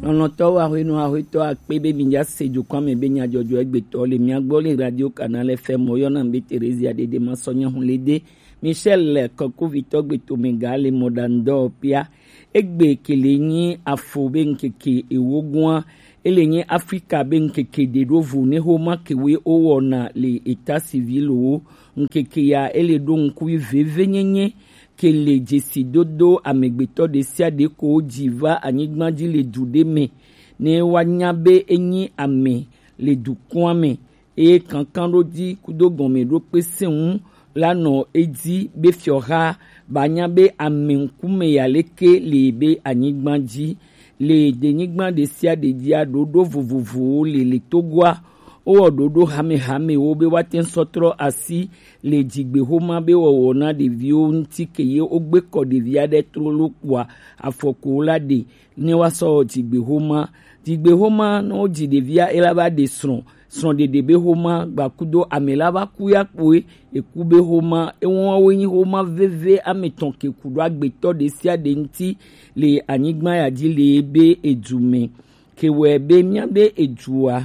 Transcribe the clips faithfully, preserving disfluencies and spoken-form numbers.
Lɔlɔ̃tɔwo, ahwenɔ, ahwetɔ akpe be mi ja se jukɔn me be nyadzɔdzɔ egbetɔ le mia gbɔ le Radio Canal F M. Woyɔna mi be Theresia Dede Masɔnya Hulede. Michel Kɔkuvitɔ gbetome ga le mɔɖaŋudɔwɔƒea. Egbe ke le nyi afo be ŋkeke ewo gɔa. Ele nyi Afrika be ŋkeke ɖe ɖo vo ne xoma kewe wowɔna le état civil wo. Ŋkeke ya ele ɖo ŋkui veve nyenye ke le dzesidodo amegbetɔ ɖesiaɖe ko ji va anyigba ji le du ɖe me, ne woanya be enyi ame le dukɔa me, eye kankanɖoji kudo gɔmeɖokpe sɛ̃ŋu la nɔ edzi be fiɔha ba nya be ame ŋkume ya leke le be anyigba ji. Le denyigba ɖesiaɖe jia, ɖoɖo vovovowo le le Togoa. Wowɔ ɖoɖo hamehamewo be woate ŋu sɔ trɔ asi le dzigbexoma be wɔwɔ na ɖeviwo ŋuti ke ye wogbe kɔ ɖevi aɖe trolo kpoa afɔku la ɖe ne woasɔ wɔ dzigbexoma. Dzigbexoma, ne wodzi ɖevia, ela va ɖe srɔ̃. Srɔ̃ɖeɖe be xoma gbakudo ame la va ku ya kpoe eku be xoma. Ewoawo nyi xoma veve ame tɔn ke ku ɖo agbetɔ ɖesiaɖe ŋuti le anyigba ya ji le be edu me. Ke wɔe be mía be edua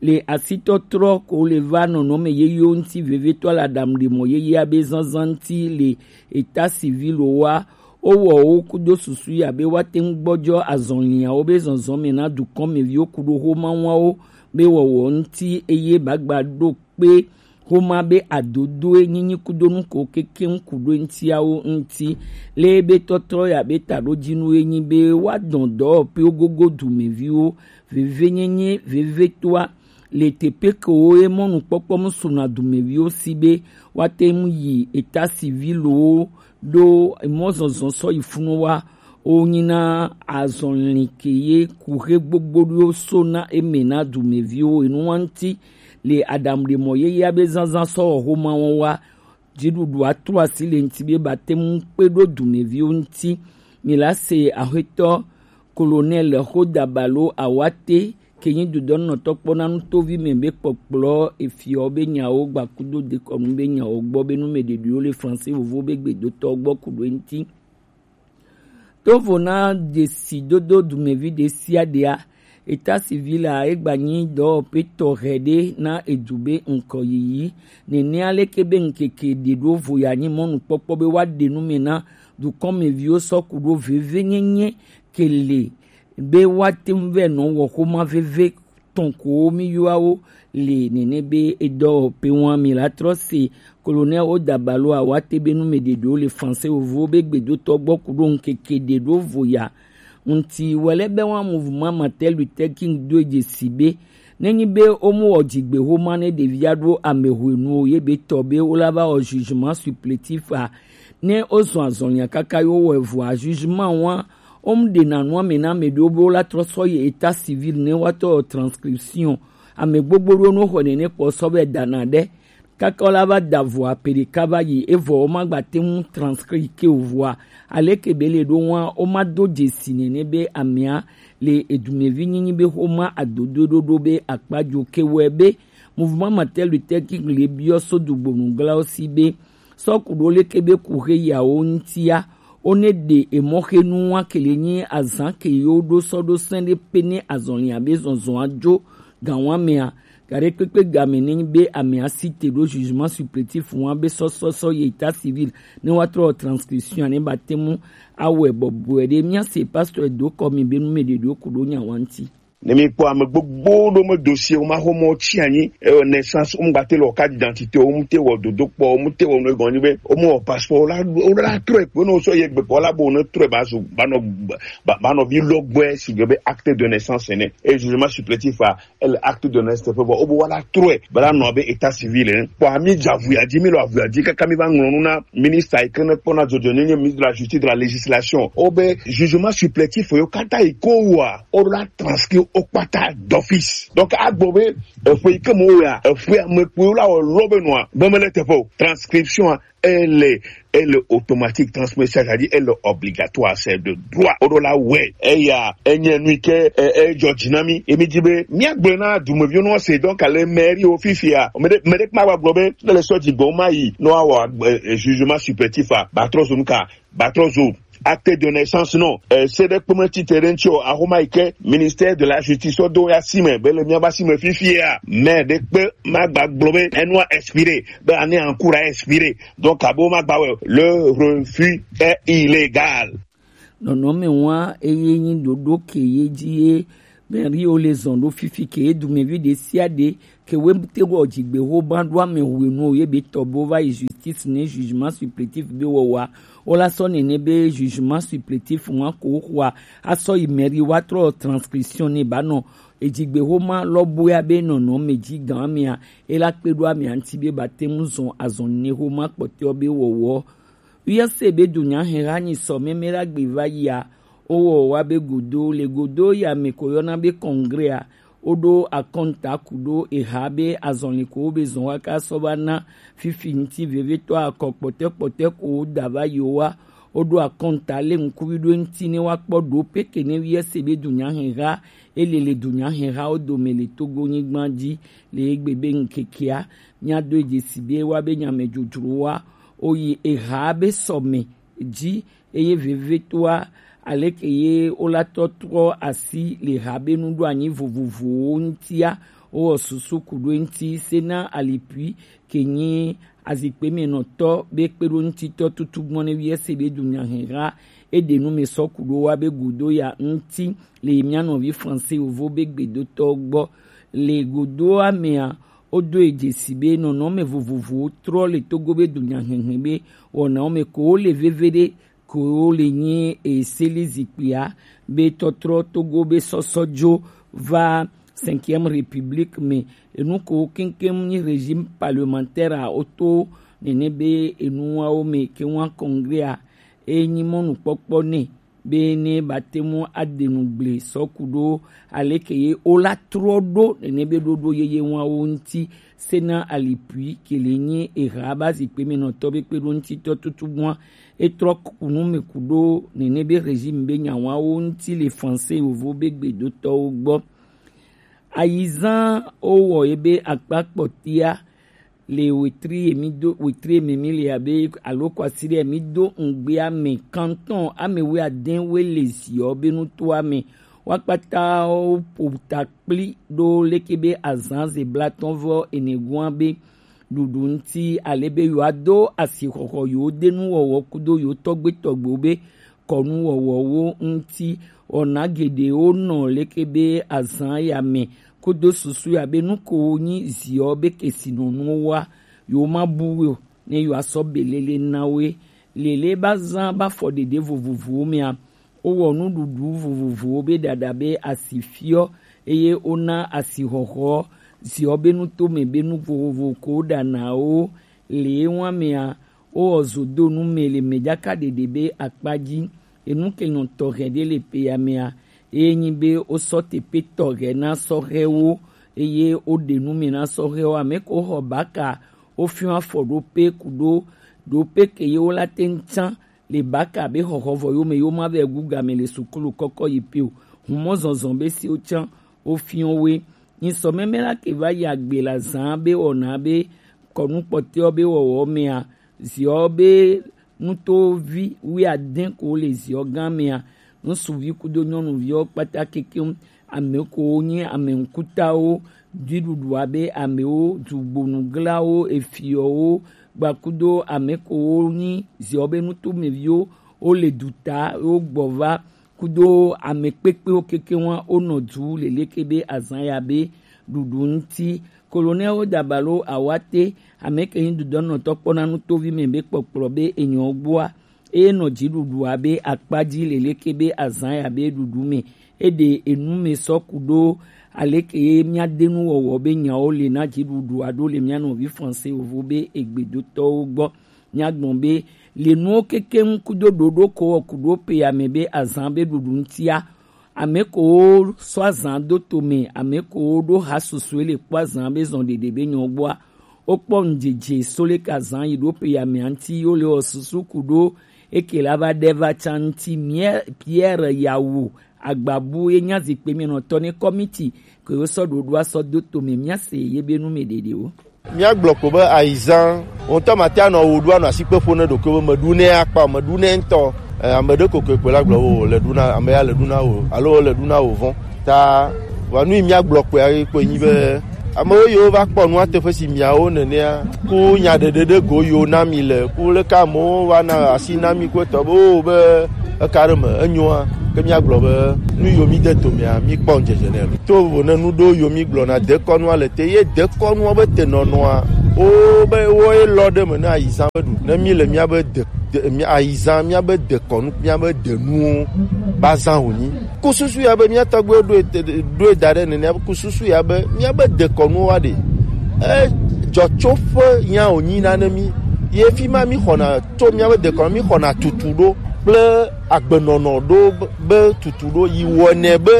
le asitɔtrɔ ko le va nɔnɔme yeyewo ŋuti vevetɔ le aɖaŋuɖemɔ yeyea be zazã ŋuti le état civil wa. Wowɔ wo kudo susu ya be woate ŋu gbɔjɔ azɔliawo be zɔzɔme na dukɔmeviwo kudo xomawawo be wɔwɔ ŋuti, eye bagba ɖo kpe xoma be adodoe nyinyi kudo nuko kekeŋ ku ɖo ŋutiawo ŋuti. Le be tɔtrɔ ya be taɖodzinu ye nyi be woadɔn dɔwɔƒewo gogo dumeviwo, vevenyenye, vevetoa, le teƒe kewo ye mɔnukpɔkpɔ mu suna dumeviwo si be woate ŋu yi état civil wo ɖo mɔzɔzɔ sɔ yi funu wa. Wo nyina azɔli ke ye kuxe gbogbo ɖo so na eme na dumeviwo enu wa ŋuti le aɖaŋuɖemɔ yeyea be zazã sɔ wɔ xoma wɔn wa. Dziɖuɖua trɔ asi le ŋuti be bate ŋu kpe ɖo dumeviwo ŋuti. Mi la se axwetɔ Colonel Xodabalo Awate ke nyi dudɔnɔtɔ kpɔ na nutovi me be kpɔkplɔ efiɔ be nyawo gbakudo dekɔnu be nyawo gbɔ be numeɖeɖiwo le français vovo be gbedotɔ gbɔ ku ɖo eŋuti. Tovo na dzesidodo dumevi ɖesiaɖea, état civil a egba nyi dɔwɔƒe tɔxɛ ɖe na edu be ŋkɔ yiyi. Nenea leke be ŋkeke ɖe ɖo vo ya nyi mɔnukpɔkpɔ be woaɖe nu me na dukɔmeviwo sɔ ku ɖo vevenyenye ke le be woate ŋu vɛ nɔ wɔ xoma veve tɔn ko mi yɔa wo le nene be edɔwɔƒe wa mi la trɔ se Colonel Odabalo Awate be numeɖeɖewo le français vovo be gbedotɔ gbɔ ku ɖo ŋkeke ɖe ɖo vo ya. Ŋuti wɛlɛ be wa mouvement Martin Luther King do dzesi be nenyi be womu wɔ dzigbe xoma ne ɖevia ɖo amehwenu o ye be tɔ be wola va wɔ jugement supplétif a, ne wozɔ azɔlia kaka yo wɔ evɔa jugement wa Wo mu ɖe na nua me na ame ɖewo be wo la trɔ sɔ yi état civil ne woatɔ transcription. Ame gbogbo ɖewo no xɔe nene kpɔ sɔ be dana ɖe. Kaka wo la va da vɔa pe ɖeka va yi evɔ wo ma gba te ŋu transcrire ke o vɔa. Aleke be le ɖo ŋua wo ma do dzesi nene be amea le edumevi nyinyi be xoma adodo ɖoɖo be akpa dzo ke wɔe be mouvement Martin Luther King le biɔ so dugbonu glawo si be sɔ ku ɖo leke be ku xe yawo ŋutia, wo ne ɖe emɔ xe nu wa ke le nyi azan ke yo ɖo sɔ ɖo sɛn ɖe pe ne azɔlia be zɔzɔa jo gan wa mea. Gaɖe kpekpe game ne nyi be amea si te ɖo jugement supplétif wa be sɔsɔsɔ yi état civil ne wa trɔ transcription ne ba te mu awɛ bɔbɔe ɖe mia se pasteur do kɔ mi be nu me ɖe ɖo ku ɖo nya wa ŋuti. Ne mi kpɔ ame gbogbo ɖo me dossier wo ma xɔ mɔ tsi anyi, e, naissance, wo mu gba te le wɔ carte d'identité, wo mu te wɔ dodo kpɔ, wo mu te wɔ nu egɔn nyi be wo mu wɔ passeport, wo la, wo la trɔe kpe ne wo sɔ ye gbe kpɔ la bo ne trɔe ba zu ba nɔ ba, ba nɔ vi lɔgbɔe si gbe be acte de naissance ne. E jugement supplétif a, e le acte de naissance teƒe bɔ wo bo wa la trɔe ba la nɔ be état civil ne. Kpɔ ami dza avuya dzi, mi le avuya dzi kaka mi va ŋlɔ nu na ministre yi ke ne kpɔna dzɔdzɔenyenye, ministre de la justice, de la législation. Wo be jugement supplétif yo kata yi ko wa wo la transcrire wo kpata d'office. Donc agbo be eƒe yi ke mo ya, eƒe ame kpuiwo la wɔ lɔ be nɔa be mele teƒe o. Transcription a, elle est, elle est automatique, transmission, c'est-à-dire elle est obligatoire, c'est de droit. Wo la wɛ eya enye nu ke e, e jɔ dzi na mi. Emi dzi be mia gblɔ na dumeviwo no se donc le mairie wo fifia. Me de me de kuma gba gblɔ be ne le sɔ dzi gbɔ ma yi no awɔ e, e, jugement supplétif a, ba trɔ zo nu ka, ba trɔ zo Acte de naissance non. Eh, se ɖe kpeme tite ɖe ŋuti o, axoma yi ke ministère de la justice do ya si me be le mía ba si me fifia, mais ɖe kpe ma gba gblɔ be enua expire, be année en cours a expire. Donc abo ma gba wɛ, le refus est illégal. Nɔnɔme wa eye nyi ɖoɖo ke ye dzi ye mɛri wo le zɔn ɖo fifi ke ye dumevi ɖe sia ɖe ke we te wɔ dzigbe ho ba ɖo ame hwenu ye be tɔ bo va yi justice ne jugement supplétif be wɔwa. Wo la sɔ nene be jugement supplétif wa ko xɔa asɔ yi mɛri wa trɔ transcription ne ba nɔ edzigbe ho ma lɔ boya be nɔnɔme dzi gan amea e la kpe ɖo amea ŋuti be ba te ŋu zɔn azɔn ne ho ma kpɔtɔ be wɔwɔ. Wi ese be dunyaheha nyi sɔ mɛmɛ la gbe va yia, wo wɔ wa be godo le godo ya me ko yɔna be congrès a, wo ɖo akɔnta ku ɖo eha be azɔli ko wo be zɔn wa ka sɔ va na fifi ŋuti vevetɔ akɔ kpɔtɛ kpɔtɛ ko wo da va yi wa, wo ɖo akɔnta le ŋkuvi ɖo ŋuti ne wa kpɔ ɖo pe ke ne wi ese be dunyaheha ele le dunyaheha wo dome le Togo nyigba dzi le egbe be ŋkekea mía do edze si be wa be nyame dzodzro wa wo yi eha be sɔme dzi, eye vevetoa, aleke ye wo la tɔ trɔ asi le ha be nuɖoanyi vovovowo ŋutia, wowɔ susu ku ɖo eŋuti sena alipui ke nyi azikpemɛnɔtɔ be kpeɖoŋutitɔ tutu gbɔn ne wiese be dunyaheha eɖe nu me sɔ ku ɖo wa be godo ya ŋuti le mía nɔvi français yovo be gbedotɔ gbɔ. Le godoa mea, wodo edze si be nɔnɔme vovovowo trɔ le Togo be dunyahehe be wɔnawo me ko wole veveɖe ko wole nyi eseli zikpuia be tɔtrɔ Togo be sɔsɔ dzo va cinquième république me. Enu ko keŋkeŋ nyi régime parlementaire a woto nene be enuawo me ke wa congrès a enyi mɔnukpɔkpɔ nɛ be ne ba te ŋu aɖe nu gble sɔ ku ɖo aleke ye wo la trɔ ɖo nene be ɖoɖo yeye wawo ŋuti sena alipui ke le nyi eha ba zikpe me nɔtɔ be kpeɖoŋutitɔ tutu gbɔa etrɔ ku nu me ku ɖo nene be régime be nyawawo ŋuti le français yovo be gbedotɔwo gbɔ. Ayizan wowɔ ye be akpa kpɔtia le wetri ye mi do wetri ye me mi le abe alo kwasiɖe mi do ŋgbea me kanton ame wuiade we le ziɔ be nutoa me. Wa kpata wo ƒo ta kpli ɖo leke be azan ze blatɔ vɔ ene gua be ɖuɖu ŋuti ale be yewoado asixɔxɔ yewo de nuwɔwɔ kudo yewo tɔgbe tɔgbewo be kɔnuwɔwɔwo ŋuti. Wɔna geɖewo nɔ leke be azan ya me kudo susu ya be nu ko nyi ziɔ be kesinɔnuwo wa yewo ma bu we o ne yewo asɔ belele na we. Lele ba zan ba fɔ ɖeɖe vovovowo mea, wowɔ nuɖuɖu vovovowo be ɖaɖa be asi fiɔ eye wona asixɔxɔ ziɔ be nutome be nu vovovo ko ɖanawo le wa mea, wowɔ zodonu me le mɛdzakaɖeɖe be akpa dzi. Enu ke nyɔ tɔxɛ ɖe le peya mea, eye nyi be wosɔ teƒe tɔxɛ na sɔhɛwo eye woɖe nu me na sɔhɛwo. Ame ko xɔ baka wofiɔ afɔ ɖo pe ku ɖo ɖo pe ke ye wo la te ŋu tsã le baka be xɔxɔ vɔ yo me yo ma vɛ gu game le sukulu kɔkɔ yi pe o. Humɔ zɔzɔ be si wo tsã wofiɔ we. Nyi sɔ mɛmɛ la ke va yi agbe la zan be wɔna be kɔnu kpɔtɛɔ be wɔwɔ mea, ziɔ be nutovi wuiade ko le ziɔ gã mea, ŋsuvi kudo nyɔnuviwo kpata kekeŋ, ame ko nyi ame ŋkutawo, dziɖuɖu abe amewo, dugbonuglawo, efiɔwo, gbakudo ame ko nyi ziɔ be nutomeviwo, wo le duta, wo gbɔ va, kudo ame kpekpewo kekeŋ wa wonɔ du leleke be azan ya be ɖuɖu ŋuti. Colonel Dabalo Awate, ame ke nyi dudɔnɔtɔ kpɔna nutovi me be kpɔkplɔ be enyɔ gbɔa, eye nɔ dziɖuɖua be akpa dzi leleke be azan ya be ɖuɖu me. Eɖe enu me sɔ ku ɖo aleke ye mía de nuwɔwɔ be nyawo le na dziɖuɖua ɖo le mía nɔvi français yovo be egbedotɔwo gbɔ. Míagblɔ be le nuwo kekeŋ kudo ɖoɖo ko wɔ ku ɖo pe ame be azan be ɖuɖu ŋutia, ame kowo sɔ azan do to me, ame kowo ɖo ha susue le kpɔ azan be zɔn ɖeɖe be nyɔ gbɔa, wokpɔ ŋdzedze so leke azan yi ɖo pe ame ŋuti yo le wɔ susu ku ɖo eke la va ɖe va tsa ŋuti. Mie- Pierre Yawu Agbabu ye nya zikpe mienɔtɔ ne kɔmiti ke wosɔ ɖoɖoa sɔ do to me, míase ye be nu me ɖeɖewo. Míagblɔ ko be ayizan, wò ŋutɔ mate anɔ wò ɖu anɔ asikpe ƒo ne ɖokuiwò be meɖu nɛ akpa o, meɖu nɛ ŋutɔ. Eh, ame ɖe kokoko la gblɔ wo le ɖuna, ame ya le ɖuna wo alo le ɖuna wo vɔn. Ta wa nu yi mía gblɔ kpɔe kpɔe nyi be ame wo yiwo va kpɔ nua teƒe si miawo nenea, ku nya ɖeɖe ɖe go yiwo na mi le, ku leke amewo va na asi na mi ku etɔ be wo be eka ɖe me enyoa, ke mía gblɔ be nu yiwo mi de to mea, mi kpɔ ŋdzedze nɛ lo. To vo ne nu ɖewo yiwo mi gblɔna dekɔnua le te, ye dekɔnua be tenɔnɔa, wo be wo ye lɔ ɖe me ne ayizã be ɖu. Ne mi le mía be de, de, mía, ayizã mía be dekɔnu, mía be denuwo ba zã wònyi. Ku susu ya be mía tɔgbuiwo ɖo ete, ɖo eda ɖe nenea, ku susu ya be mía be dekɔnuwo wa ɖe. E dzɔtsoƒe ya wònyi na ne mi. Ye fi ma mi xɔna, to mía be dekɔnu mi xɔna tutu ɖo kple agbenɔnɔ ɖo be, be tutu ɖo yi wɔnɛ be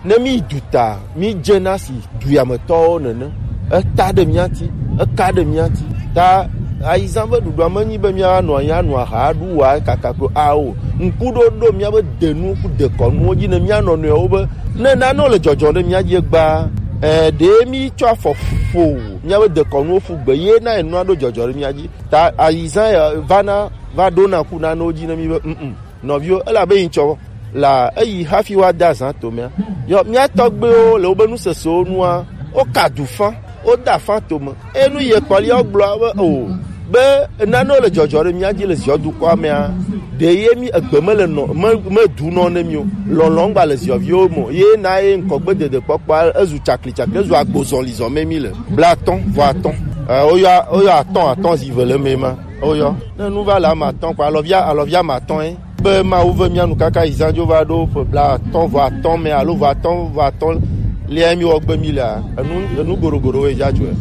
ne mi yi duta, mi dze na si duyametɔwo nene. Eta ɖe mía ti, eka ɖe mía ti. Ta ayizã be ɖuɖua menyi be míanɔ anyi anu aha aɖu wa kaka ko ao. Ŋkuɖoɖo míabe denu ku dekɔnuwo dzi ne mía nɔnɔewo be ne nanewo le dzɔdzɔ ɖe mía dzi egbea, eh, ɖe mi tsɔ afɔ ƒo míabe dekɔnuwo ƒu gbe ye na enua ɖo dzɔdzɔ ɖe mía dzi. Ta ayizã ya vana va ɖona ku nanewo dzi ne mi be, mm, mm. Nɔviwo, ele abe yi tsɔ la eyi hafi wa da zã to mea. Yɔ mía tɔgbewo le wobe nusesewo nua, wo ka du fã, wo da fã to me. Enu ye kpɔlia wo gblɔ be o, be nanewo le dzɔdzɔ ɖe mía dzi le ziɔ dukɔa mea, ɖe ye mi egbe me le nɔ, me, me du nɔ ne mi o. Lɔlɔ̃ gba le ziɔviwo me o. Ye na ye ŋkɔgbe dede kpɔkpɔ ezu tsakli tsakli, ezu agbo zɔli zɔ me mi le. Blatɔ̃ vɔ atɔ̃. Eh, woyɔ, woyɔ atɔ̃ atɔ̃ zi ve le me ma. Woyɔ. Ne nu va le ame atɔ̃ kɔ, alɔvia, alɔvia ame atɔ̃ ye. Be Mawu ve mía nu kaka yi zã dzo va ɖo ƒe blaatɔ̃ vɔ atɔ̃ me alo vɔ atɔ̃ vɔ atɔ̃ lia mi wɔ gbe mi lea, enu, enu goɖogoɖo wo dza dzɔe.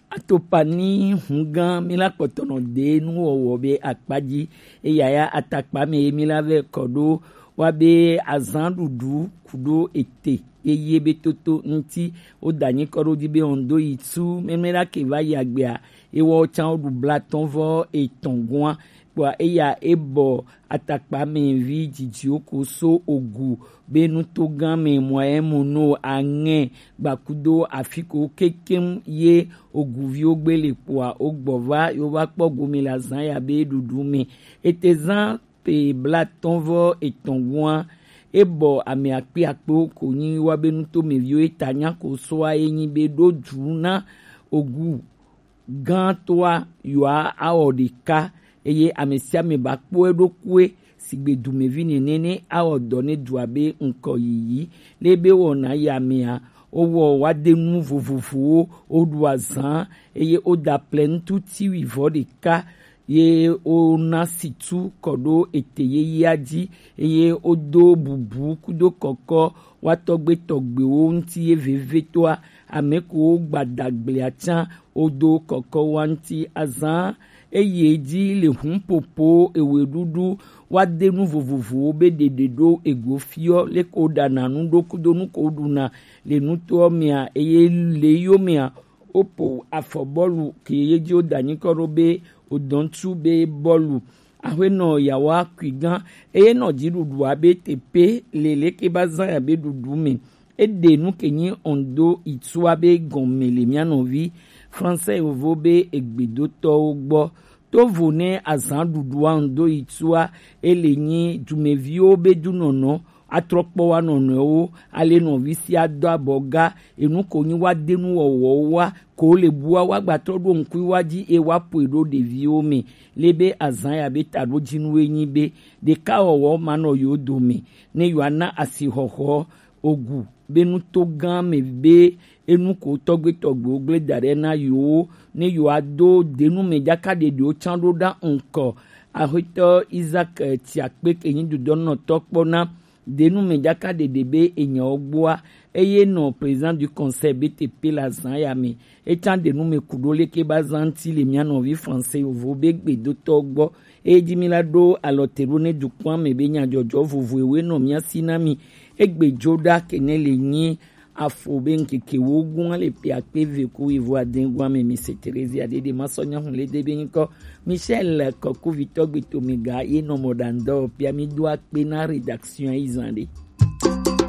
Atopani hungã mi la kpɔtɔ nɔ de nuwɔwɔ be akpa dzi, eya ya atakpa me ye mi la vɛ kɔ ɖo wa be azã ɖuɖu ku ɖo ete yeye be toto ŋuti. Wo da nyi kɔ ɖo dzi be on do yi tu mɛmɛ la ke va yi agbea, ewɔ tsã wo ɖu blatɔ̃ vɔ etɔ̃ gɔ̃a. Kpɔa eya ebɔ atakpa mɛ vi dzidziwo ko so ogu be nutogã mɛ mɔ emo no aŋɛ gbakudo afi ko kekem ye oguviwo gbe le kpɔa wo gbɔ va yo va kpɔ gome le azã ya be ɖuɖu mɛ. Ete zã pe blatɔ̃ vɔ etɔ̃ gɔ̃a, ebɔ ame akpe akpewo ko nyi wa be nutomeviwo eta nya ko soa ye nyi be ɖo dzu na ogu gãtɔa yewoa awɔ ɖeka, eye ame sia ame ba kpɔe ɖokuiɛ sigbe dumevi nene ne awɔ dɔ ne dua be ŋkɔ yiyi. Le be wɔna ya mea, wowɔ woade nu vovovowo, woɖu azã, eye woda ple ŋutu tiwui vɔ ɖeka, ye wona situ kɔ ɖo ete yeyea dzi, eye wodo bubu kudo kɔkɔ wa tɔgbe tɔgbewo ŋuti ye vevitɔa, ame ko wogba da gblea tsã, wodo kɔkɔ wa ŋuti azã eye dzi le hunpopo ewe ɖuɖu wa de nu vovovowo be ɖeɖe ɖo ego fiɔ leke woɖana nu ɖo kudo nu ko woɖuna le nutoɔ mea eye le yo mea wopo afɔ bɔlu ke ye dzi woda nyi kɔ ɖo be wodɔntu be bɔlu. Aƒenɔ yawo akui gã eye nɔ dziɖuɖua be tepe le leke ba zã ya be ɖuɖu me. Eɖe nu ke nyi ondo itsua be gɔme le mía nɔvi Français yovo be egbedotɔwo gbɔ. Tovo ne azã ɖuɖua ondo itsua ele nyi dumeviwo be dunɔnɔ atrɔ kpɔ wa nɔnɔewo, ale nɔvi sia do abɔ ga, enu ko nyi wa de nu wɔwɔ wa, ko le bua wa gba trɔ ɖo ŋkui wa dzi e wa ƒoe ɖo ɖeviwo me. Le be azã ya be taɖodzinuwo nyi be ɖeka wɔwɔ ma nɔ yo dome, ne yo ana asixɔxɔ ogu be nutogã me be enu ko tɔgbe tɔgbewo gble da ɖe na yewo, ne yewoado denu me dzaka ɖeɖewo tsã ɖo ɖa ŋkɔ. Axwetɔ Isaac, eh, Tiakpe ke nyi dudɔnɔtɔ kpɔ na denu me dzaka ɖeɖe be enyawo gbɔa, eye nɔ président du conseil B T P le azã ya me. Etsã ɖe nu me ku ɖo leke ba zã ŋuti le mía nɔvi Français yovo be gbedotɔ gbɔ. Eye dzi mi la ɖo alɔ te ɖo ne dukɔa me be nyadzɔdzɔ vovovoe nɔ mía si na mi. Egbe dzo ɖa ke ne le nyi afo be ŋkeke wo gua le pe akpe ve ku yi vo ade gua me mi se Theresia ɖeɖe ma sɔ nya hu le de be nyikɔ Michel Kɔkuvitɔ gbe to mi ga ye nɔ mɔ ɖa ŋdɔ pia mi do akpe na rédaction yi zã ɖe.